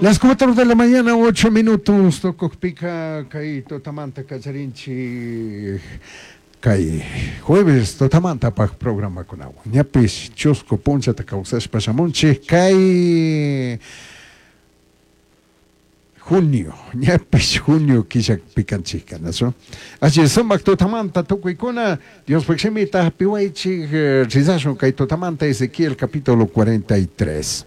Las 4 de la mañana, 8 minutos, tucujpica kay tutamanta kallarinchik kay jueves tutamantapaj programakunawan. Ñapish chusku punchata kawsashpa shamunchik kay junio, ñapish junio killapika nachu? Así sumak tutamanta tukuykuna Diospaj shimita hapiwaychik rizashun kay tutamanta Ezequiel capítulo 43.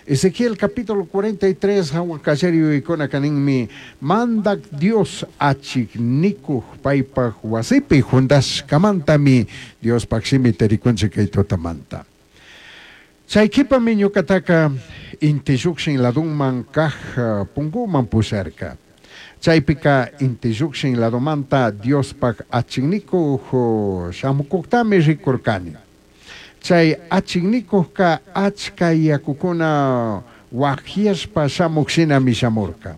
Ezequiel capítulo 43 hawa kallari yuyaykuna kaninmi mandak Dios achiknikuj paypaj wasipi jundashkamantami Diospaj shimita rikunchik kay tutamanta. Chay kipami ñukataka inti llukshin ladunman kaj punguman pusharka. Chaypika inti llukshin ladomanta Diospaj achiknikuj shamukuktami rikurkani. Chay achiknikujka achka yakukuna wajiashpa shamuk shinami shamurka.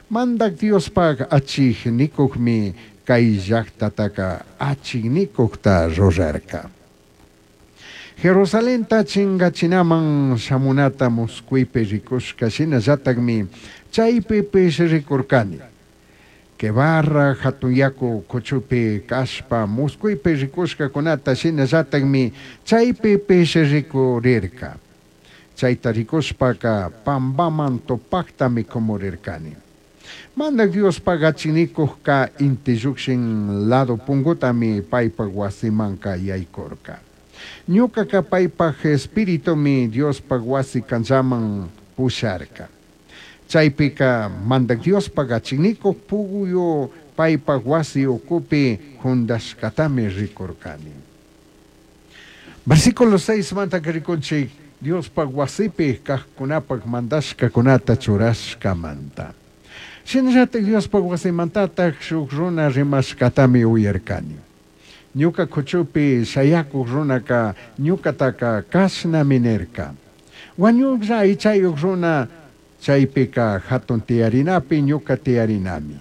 Mandak Diospaj achiknikujmi kay llaktataka achiknikujta rurarka. Jerusalenta chingachinaman shamunata muskuypi rikushka shinallatakmi chaypipish rikurkani. Quebarra hatun yaku kuchupi kashpa muskuypi rikushkakunata shinallatakmi chaypipish rikurirka. Chayta rikushpaka pambaman tupaktami kumurirkani. Mandak Diospaj achiknikujka inti llukshin lado pungutami paypak wasimanka yaykurka. Ñukaka paypaj espiritumi Diospaj wasi kanchaman pusharka. Chaypika mandak Diospaj achiknikuj puguyu paypaj wasi ukupi jundashkatami rikurkani. Versículo 6 manta rikunchik Diospaj wasipi kajkunapaj mandashkakunata churashkamanta. Shinallatak Diospaj wasimantataj shuk runa rimashkatami uyarkani. Ñuka kuchupi shayakuj runaka ñukataka kashnami nirka. Wañuklla aychayuq runa chaypika hatun tiyarinapi ñuka tiyarinami.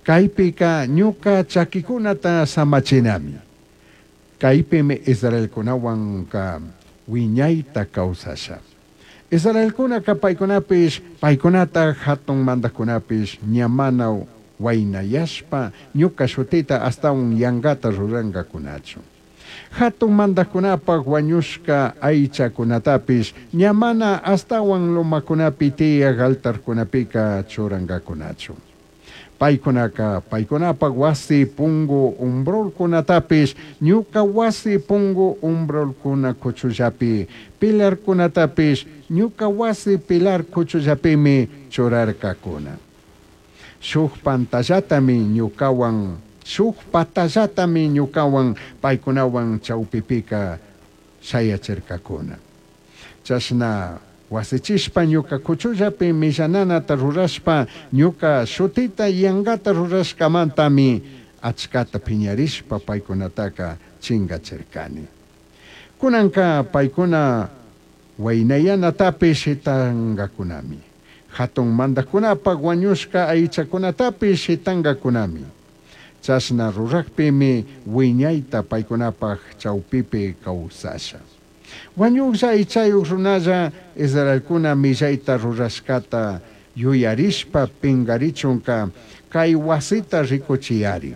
Kaypika ñuka chakikunata samachinami. Kaypimi Israelkunawanka wiñayta kawsasha. Israelkunaka paykunapish paykunata hatun mandajkunapish ña mana waynayashpa ñuka shutita astawan yankata rurankakunachu. Hatun mandajkunapaj wañushka aychakunatapish ña mana astawan lomakunapi tiyaj altarkunapika churankakunachu. Paykunaka paykunapaj wasi pungu umbralkunatapish ñuka wasi pungu umbralkuna kuchullapi pilarkunatapish ñuka wasi pilar kuchullapimi churarkakuna. Shuk pantallatami ñukawan shuk patallatami ñukawan paykunawan chawpipika shayachirkakuna. Chashna wasichishpa ñuka kuchullapi millananata rurashpa ñuka shutita yankata rurashkamantami achkata piñarishpa paykunataka chingachirkani. Kunanka paykuna waynayanatapish shitankakunami. Hatun mandajkunapaj wañushka aychakunatapish shitankakunami. Chashna rurakpimi wiñayta paykunapaj chawpipi kawsasha. Wañuklla aychayuq runalla Israelkuna millayta rurashkata yuyarishpa pinkarichunka kay wasita rikuchiyari.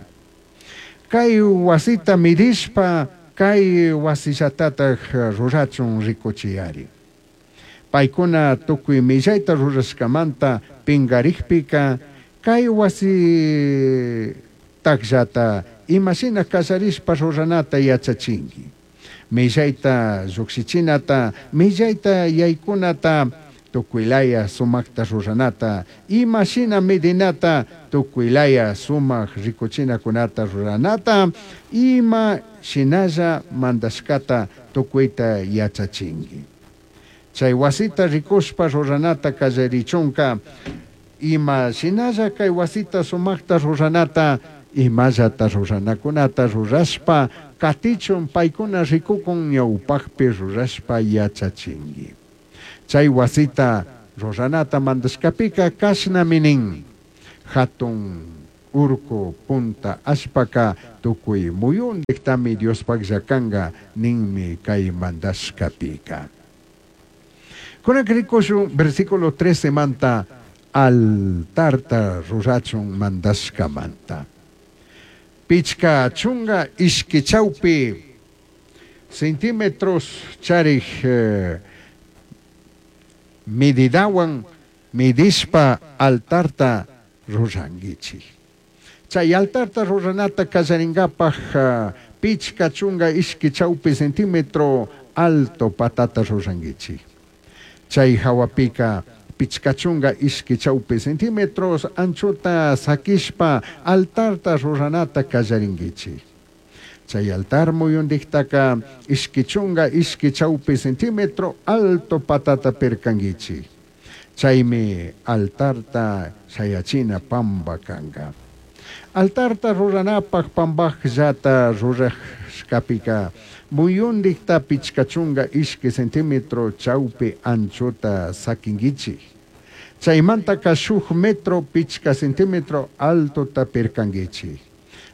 Kay wasita midishpa kay wasillatataj rurachun rikuchiyari. Paykuna tukuy millayta rurashkamanta pinkarikpika kay wasi takllata imashina kallarishpa ruranata yachachinki. Millayta lluksichinata, millayta yaykunata, tukuylaya sumakta ruranata, imashina medinata, tukuylaya sumak rikuchinakunata ruranata, ima shinalla mandashkata tukuyta yachachinki. Chay wasita rikushpa ruranata kallarichunka, ima shinalla kay wasita sumakta ruranata, imallata ruranakunata rurashpa katichun paykuna rikukun ñawpakpi rurashpa yachachinki. Chay wasita ruranata mandashkapika kashnami nin. Hatun urku punta allpaka tukuy muyundiktami Diospaklla kanka ninmi kay mandashkapika. Kunanka rikushun versículo 13 manta altarta rurachun mandashkamanta. Pichka chunga ishki chawpi centímetros charik medidawan midishpa altarta ruranguichik. Chay altarta ruranata kallaringapaj pichka chunga ishki chawpi centímetro alto patata ruranguichik. Chay hawapika pichka chunga ishki chawpi centímetros anchota sakishpa altarta ruranata kallaringuichik. Chay altar muyundiktaka ishki chunga ishki chawpi centímetro alto patata pirkanguichik. Chaymi altarta shayachina pamba kanga. Altarta ruranapaj pambajllata rurashkapika muyundikta pichka chunga ishki centímetro chawpi anchota sakinguichik. Chaymantaka shuk metro pichka centímetro altota pirkanguichik.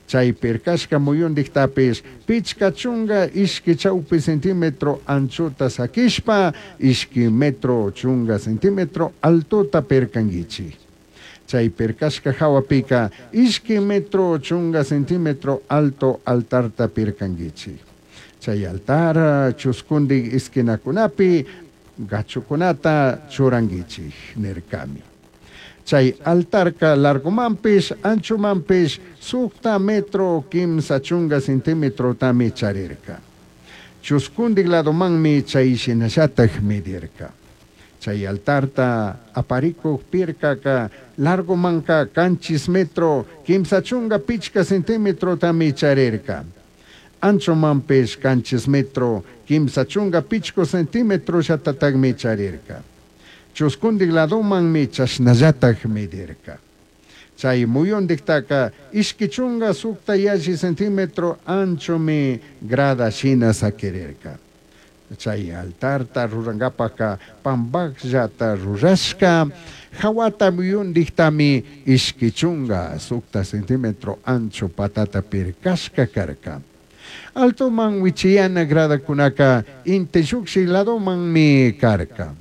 Chay pirkashka muyundiktapis pichka chunga ishki chawpi centímetro anchota sakishpa ishki metro chunga centímetro altota pirkanguichik. Chay pirkashka hawapika ishki metro chunga centímetro alto altarta pirkanguichik. Chay altar chuskundik esquinakunapi gachukunata churanguichik nirkami. Chay altarka largomanpish anchomanpish sukta metro kimsa chunga centímetrotami charirka. Chuskundik ladomanmi chay shinallatak medirka. Chay altarta aparikuq pirkaka largomanka kanchis metro kimsa chunga pichka centímetrotami charirka. Anchomanpish kanchis metro kimsa chunga pichko centímetro llatatakmi charirka. Chuskundik ladomanmi chashnallatak medirka. Chay muyundiktaka ishki chunga sukta yalli centímetro anchomi grada shina sakirirka. Chay altarta rurankapaka pambakllata rurashka hawata muyundiktami ishki chunga sukta centímetro ancho patata pirkashka karka. Altoman wichiyana gradakunaka inti llukshin ladomanmi karka.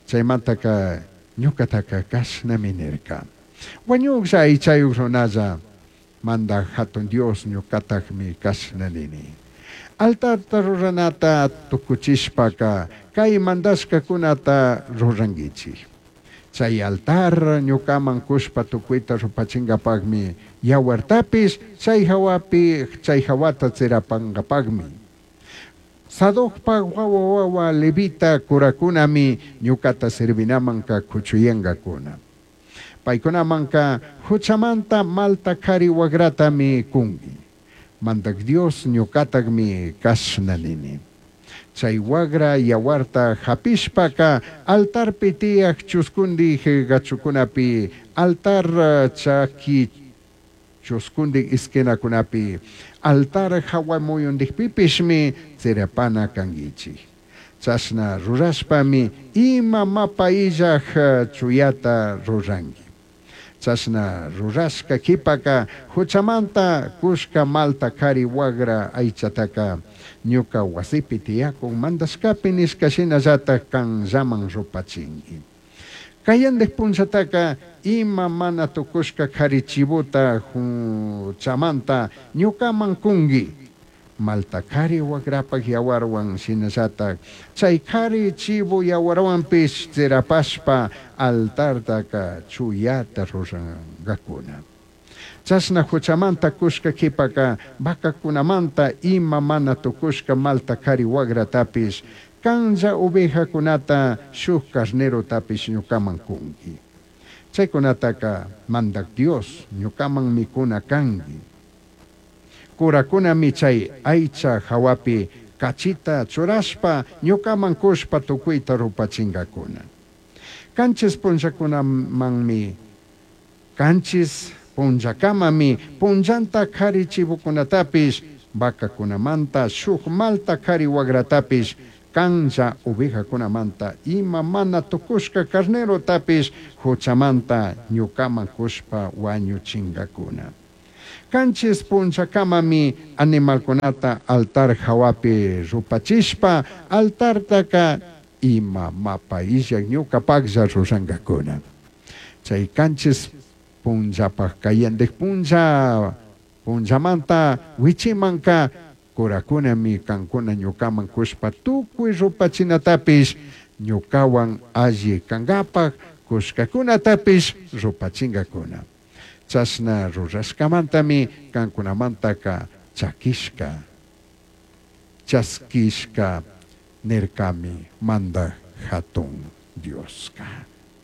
Chaymantaka ñukataka kashnami nirka. Wañuklla aychayuk runalla mandaj hatun Dios ñukatakmi kashna nini. Altarta ruranata tukuchishpaka kay mandashkakunata ruranguichik. Chay altar ñukaman kushpa tukuyta rupachinkapakmi yawartapish chay hawapi chay hawata tsirapankapakmi. Sadokpak wawa wawa levita kurakunami ñukata servinamanka kuchuyankakuna. Paykunamanka huchamanta malta kari wagratami kunki. Mandak Dios ñukatakmi kashna nini. Chay wagra yawarta hapishpaka altarpi tiyak chuskundik gachukunapi altar chaki chuskundik esquinakunapi altar hawa muyundikpipishmi tsirapana kanguichik. Chashna rurashpami ima mapa illaj chuyata ruranki. Chashna rurashka kipaka huchamanta kushka malta kari wagra aychataka ñuka wasipi tiyakun mandashkapi nishka shinallatak kanllaman rupachinki. Kayandik punchataka ima mana tukushka kari chivota huchamanta ñukaman kunki. Malta kari wagrapak yawarwan shinallatak chay kari chivo yawarwanpish tsirapashpa altartaka chuyata rurankakuna. Chashna huchamanta kushka kipaka vacakunamanta ima mana tukushka malta kari wagratapish kanlla ovejakunata shuk carnerotapish ñukaman kunki. Chaykunataka mandak Dios ñukaman mikuna kanki. Kurakunami chay aycha hawapi kachita churashpa ñukaman kushpa tukuyta rupachinkakuna. Kanchis punllakunamanmi kanchis punllakamami punllanta kari chivokunatapish vacakunamanta shuk malta kari wagratapish kanlla ovejakunamanta ima mana tukushka carnerotapish huchamanta ñukaman kushpa wañuchinkakuna. Kanchis punllakamami animalkunata altar hawapi rupachishpa altartaka Ima mapa illaj ñucapajlla rurangacuna. Chai canchis punllapaj cayandij punlla punllamanta huichimanca curacunami cancuna ñucaman cushpa tucui rupachinatapish, ñucahuan alli cangapaj cushcacunatapish rupachingacuna. Chashna rurashcamantami cancunamantaca chaquishca, chasquishca nircami Mandaj Jatun Diosca.